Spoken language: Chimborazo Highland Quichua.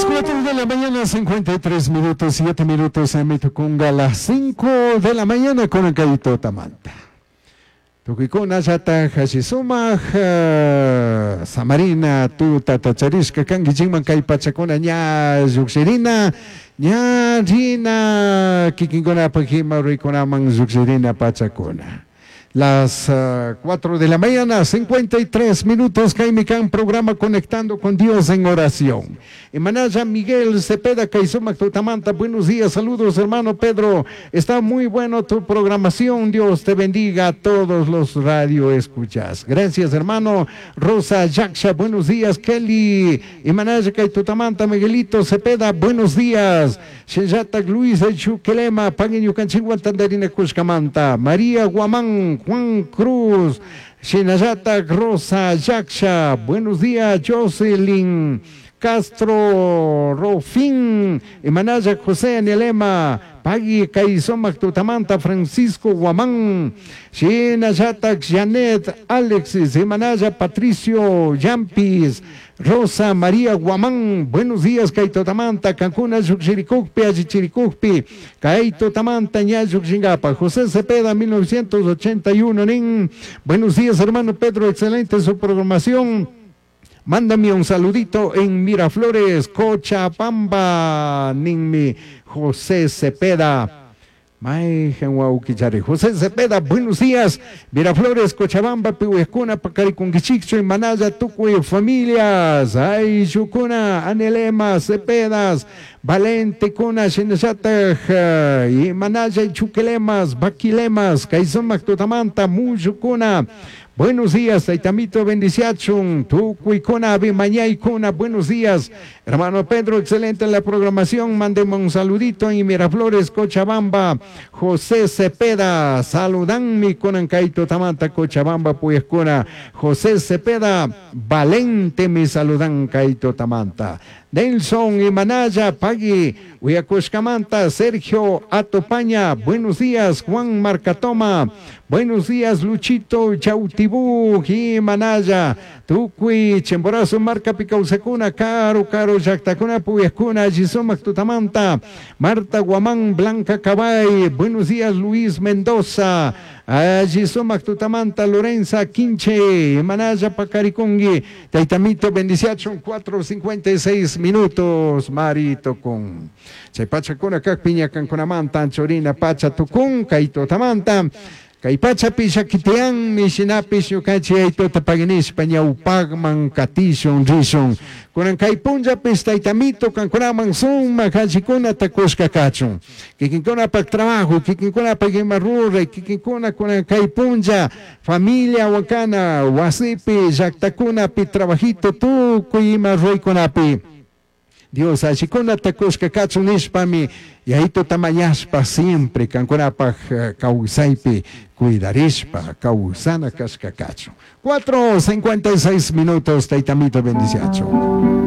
Las 4 de la mañana, 53 minutos, 7 minutos en Mitucunga, las 5 de la mañana con el Kaito Tamanta. Tukuykuna llatak sumak samarina tuta tacharishka kankichikman kay pachakuna ña llukshirina ña rina kikinkunapak ima ruraykunaman llukshirina pachakuna. Las 4 de la mañana, 53 minutos, kaymi kan programa Conectando con Dios en Oración. Imanaya Miguel Cepeda, kay sumak tutamanta, buenos días, saludos hermano Pedro. Está muy bueno tu programación, Dios te bendiga a todos los radio escuchas. Gracias hermano Rosa Yaksha, buenos días Kelly. Imanaya kay tutamanta, Miguelito Cepeda, buenos días. Shinllatak Luis Chuquelema, pagui ñukanchikwan tandarina kushkamanta. María Guamán, Juan Cruz, Shinallatak Rosa Yaksha, buenos días Jocelyn Castro Rofín, Imanaya José Anielema, Pagui kay sumak tutamanta Francisco Guamán, Shinallatak Janet Alexis, Imanaya Patricio Yampis, Rosa María Guamán, buenos días, kay tutamanta, Cancún, Lluqshirikukpi, Allichirikukpi, kay tutamanta, ña lluqshingapa, José Cepeda, 1981, nin, buenos días, hermano Pedro, excelente su programación. Mándame un saludito en Miraflores, Cochabamba, ninmi José Cepeda. Mayqan wawqichari José Cepeda, buenos días. Miraflores, Cochabamba, piwejkuna, paqarikunkichikchu, Manaya, tukuy familias. Ayllukuna, Anelema, Cepedas, Valentekuna, shinallatak, Manaya, Chuquelemas, Baquilemas, kay sumak tutamanta, Muyukuna. Buenos días, Taitamito, bendiciachun, Tucuicuna, Bimañaicuna, buenos días. Hermano Pedro, excelente en la programación, mándeme un saludito en Miraflores, Cochabamba. José Cepeda, saludanmi kunan kay tutamanta, Cochabamba, puyajkuna. José Cepeda, Valente, mi saludan kay tutamanta. Nelson Imanaya, Pagui, Uyacushkamanta, Sergio Atopaña, buenos días, Juan Marcatoma, buenos días, Luchito Chautibú, Imanaya, Tukuy, Chimborazo, Marca Picausacuna, Caro, Caro, Yactacuna, Puyascuna, Gisomac Tutamanta, Marta Guamán, Blanca Cabay, buenos días, Luis Mendoza, Alli sumak tutamanta, Lorenza Quinche, Manaya Pacaricungui, Taitamito, bendiciachun, 4.56 minutos, Marito con Chay pachakuna kak piña kankunamanta, anchorina pacha tukun, kay tutamanta, kay pachapi llakitianmi, shinapish ñukanchik aytuta paginishpa ñawpakman katishun rishun. Kunan kay punllapish taytamito kankunaman sumak allikunata kushka kachun. Kikinkunapak trabajo, kikinkunapak ima ruray, kikinkuna kunan kay punlla, familia wakana, wasipi, llaktakunapi, trabajito tukuy ima ruraykunapi. Dios allikunata kushka kachun nishpami, yayituta mañashpa siempre kankunapak kawsaypi cuidarishpa, kawsana kashka kachun. 4.56 minutos, taytamito bendiciachun.